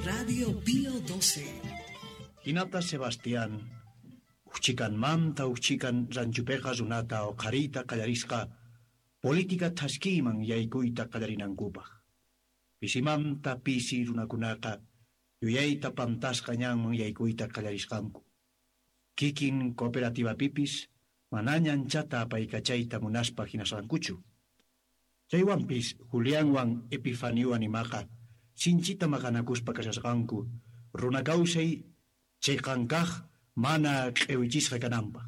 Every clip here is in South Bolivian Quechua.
Radio Pío 12. Hinata Sebastián, uchchikanmanta uchchikan ranchupeqa runata uqhariyta qallarisqa política thaskiyman yaykuyta qallarinankupaq. Pisimanta pisi runakunaqa yuyayta pantasqa ñanman yaykuyta qallarisqanku. Kikin cooperativapipis manaña anchata apaykachayta munaspa hinasqankuchu. Chaywanpis Julianwan Epifaniwan imaqa sinchita maqanakuspa kashasqanku runa kawsay chiqan kaq mana q'ewichisqa kananpaq.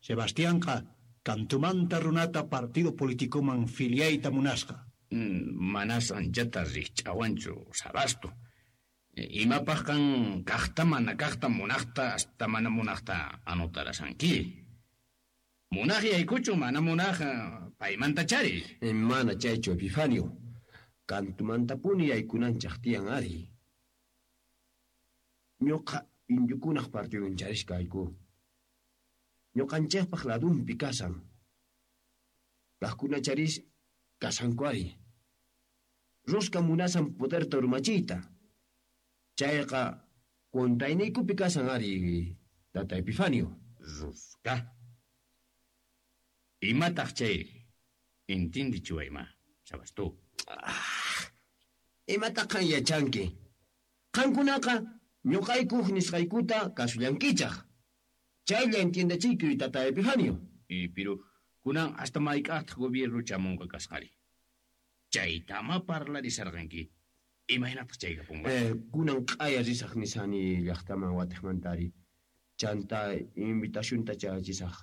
Sebastianqa kantumanta runata partido politicoman filiayta munasqa. Manas anchata rikch'awanchu Sabasto. Imapaq kan kaqta mana kaqta munaqta hasta mana munaqta anotarasanki. Munaq yaykuchu mana munaq paymanta chari. Mana chaychu Epifanio. Kantumantapuni yaykunanchaq tiyan ari. Ñuqa indiokunaq partidun charishkayku. Ñuqanchikpaq ladunpi kasan. Kaqkuna charis kasanku ari. Rosca munasan poderta urmachiyta. Chayqa contrayniykupi kasan ari, tata Epifanio. Rosca. Imataq chay intindichiwayma, Sabastu. Imataq qan yachanki? Qankunaqa ñuqaykuq nisqaykuta kasullankichaq. Chaylla entiendachiykuy, tata Epifanio. Pero kunan hasta mayk'aqtaq gobierno chamunqa kasqari. Chaytama parlarisarqanki. Imaynataq chayqa punqa? Kunan q'aya risaq nisani llaqtaman watiqmantari. Chanta invitacionta chayachisaq.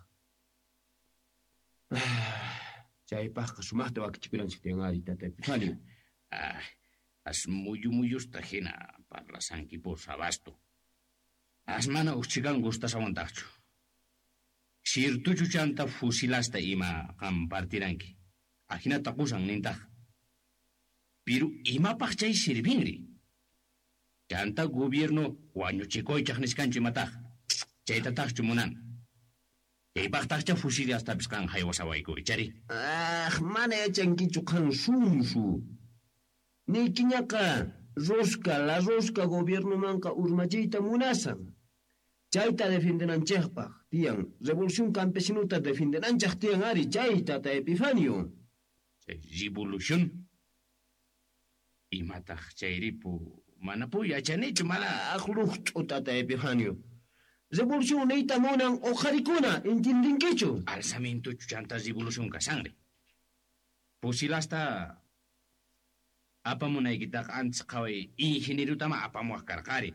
Chaypaqqa sumaqta wakichikunanchik tiyan ari, tata Epifanio. As muyu muyusta hina parlasanki por Sabasto. As mana uchchikan gustasawantaqchu. Sirtuchu chanta fusilasta ima qam partiranki. Ajinata qusan nintaq. Piru imapaq chay sirvinri. Chanta gobierno wañuchikuychaq niskanchu imataq. Chaytataqchu munan. Chaypaqtaqcha fusilastapis qan haywasawayku, ichari. Mana yachankichu qan sunsu. Niykiñaqa rosca, la rosca gobiernomanqa urmachiyta munasan. Chayta defendenanchikpaq tiyan, revolución campesinuta defendenanchik tiyan ari, chayta ta Epifanio. Chay revolución imataq chayripu manapu yachanichu mana. Luqt'u tata Epifanio. Revolución niyta munan uqharikuna, entendinkichu? Alzamientochu chanta revolución kasanri. Fusilasta apamunaykitaqa antes qhaway ingenierotama apamuwaq karqari.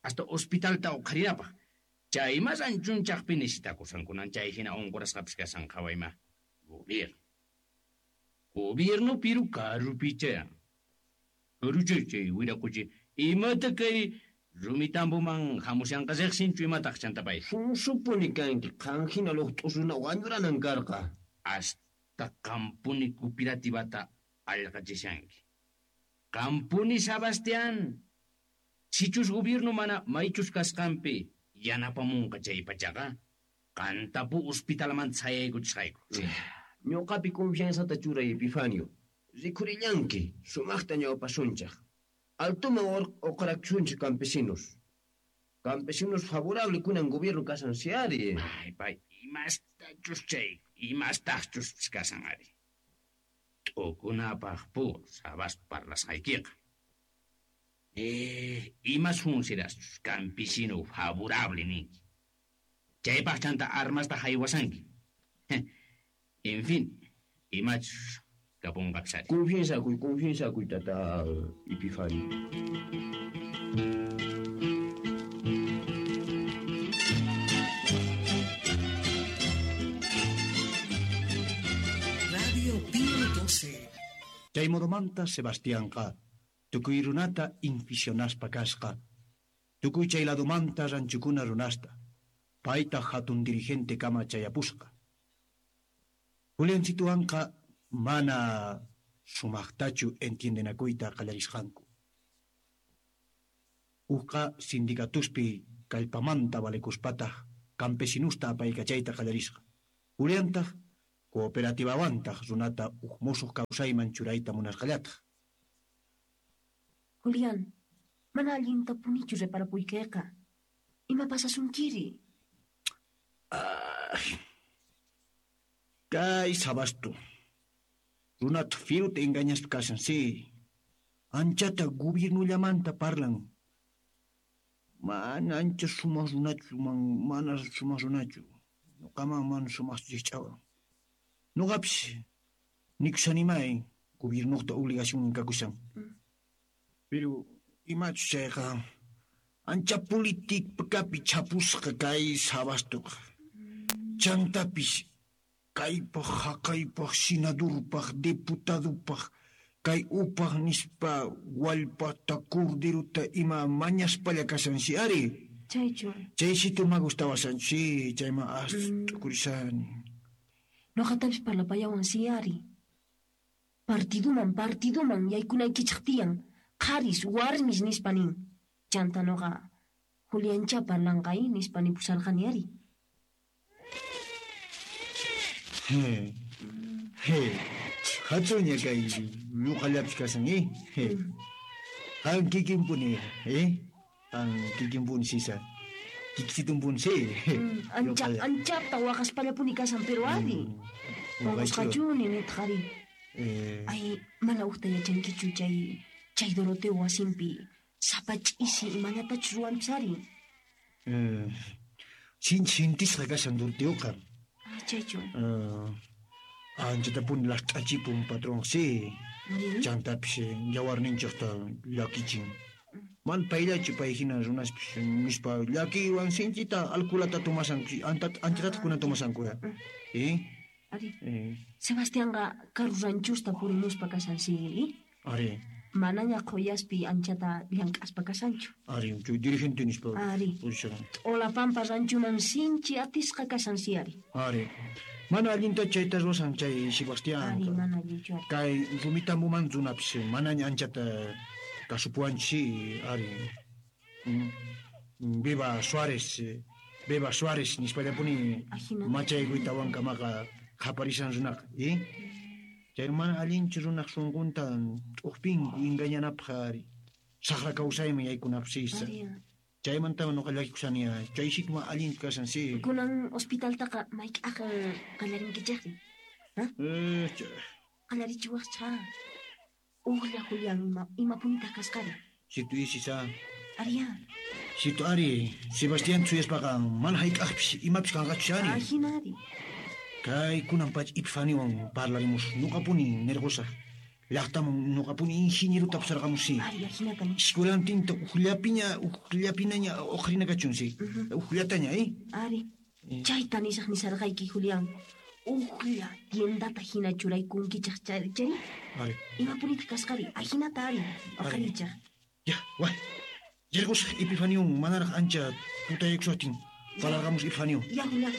Hasta hospitalta uqharinapaq. Chay mas anchunchaqpi necesitakusankunan chay hina unqurasqapis kasan qhawayma. Gobierno. Gobierno piru karupicha. Karucha chay wiraquchi imata kay rumitambuman hamushanqa riqsinchu imataq chantapay. Sunsupuni kanki qan hina luqt'u runa wañuranan karqa. Hasta qampuni cooperativata allqachishanki. Qampuni Sebastián. Sichus gobierno mana maychus kasqanpi yanapamunqa chay pachaqa, qantapu hospitalman chayaykuchisqayku. Ñuqapi confianzata churay Epifanio. Rikurillanki sumaqta ñawpasunchaq. Altuman uqrakusunchik campesinos. Campesinos favorable kunan gobierno kasan siari. Ay, pay, imastachus chay, imastachus kasan ari. T'ukunapaq pu sabas parlasqaykiqa. Imas funcionaschus campesino favorable ninki. Chaypaq chanta armasta haywasanki. En fin, imachus kapunqapis ari. Confianzakuy, confianzakuy, tata Epifanio. Radio Pío 12. Chay modomanta Sebastianqa tukuy runata inficionaspa kasqa. Tukuy chay ladumanta ranchukuna runasta. Payta hatun dirigente kama chayapusqa. Juliancituanqa mana sumaqtachu entiendenakuyta qallarisqanku. Uqa sindicatuspi kallpamanta valekuspataq campesinusta apaykachayta qallarisqa. Juliantaq cooperativawantaq runata uj musuq kawsayman churayta munasqallataq. Julián, Mana allintapunichu reparapuykeqa. Ima pasasunkiri? Ay. Kay Sabasto. Runata firuta engañaspa kashan, sí. Anchata gobiernollamanta parlan. Mana ancha sumaq runachu, mana sumaq runachu. Noqaman mana sumaqchu rikch'awan. Noqapis nikushanimay gobiernoqta obligación kakushan. Pero imachus chayqa ancha políticapi chapusqa kay Sabastoqa. Chantapis kaypaj, haqaypaj, senadorpaj, diputadopaj, kay upaj nispa wallpata, corderota ima mañaspalla kashansi ari. Chaychu. Chaysito ma gustawasan, sí, chayman as t'ukurisani. Noqatapis parlapayawan si ari. Partiduman, partiduman yaykunaykichej tiyan. Qharis, warmis nispa nin. Chanta noqa Juliancha parlanqa nispa nipusarqani ari. He. He. Hatsuña kay ñuqallapis kashan, eh? He. Qan kikinpuni, eh? Qan kikinpuni sisa. Kikisitunpuni, sí. Anchata waqaspallapuni kashan, pero ari. Waqasqachuni nitaq ari. Ay, mana ujta yachankichu chay Doroteo wasinpi sapa ch'isi imallatachus ruwanpis ari. Sinchi sintisqa kashan Doroteoqa. Chaychu. Anchatapuni last'achipun patrón, sí. Chantapis yawarninchejta llakichin. Man payllachu pay hina runaspis nispa llakiywan sinchita alkulata tomasanku, anchatataq kuna tomasanku. Eh? Ari. Sebastianqa karu ranchusta purimuspa kashan, sí. Ari. Manaña qhuyaspi anchata llank'aspa kashanchu. Ari, dirigente nispa. Ari. T'olapampa ranchuman sinchi atisqa kashan, sí, ari. Ari. Mana allinta chayta ruwasan chay Sebastián. Ari, mana allinchu ari. Kay rumitambuman runapis manaña anchata kasupuwanchis, sí, ari. Viva Suárez, viva Suárez nispallapuni machaykuytawankamaqa qhaparisan runaqa, eh? Chay mana allinchu runaq sunqunta t'uqpinku engañanapaq ari. Saqra kawsayman yaykunapaq sisa. Chaymanta noqa llakikusani, chay sitma allinchu kashan, sí. Kunan hospitaltaqa mayk'aq qallarinkichejri? Qallarichiwaqcha. Ujlla Julián imapunitaq kasqari? Situ isisa. Ariya. Situ ari, Sebastián chuyaspaqa mana hayk'aqpis imapis kanqachu ari. Ajina ari. Kay kunan pacha Epifaniwan parlarimus, noqapuni nirqusaq. Llaqtaman noqapuni ingenierota pusarqamus, sí. Ari, ajinata ni. Escuelantinta ujllapinaña uqrina kachun, sí. Ujllataña, eh? Ari, chayta nisaq nisarqayki, Julián. Ujlla tiendata hina churaykunkichaq chari. Ari. Imapunitaq kasqari, ajinata ari, uqarichaq. Ya, way. Yarqusaq Epifaniwan manaraq ancha tutayaykushaqtin. Parlarqamus Epifanio. Ya, Julián.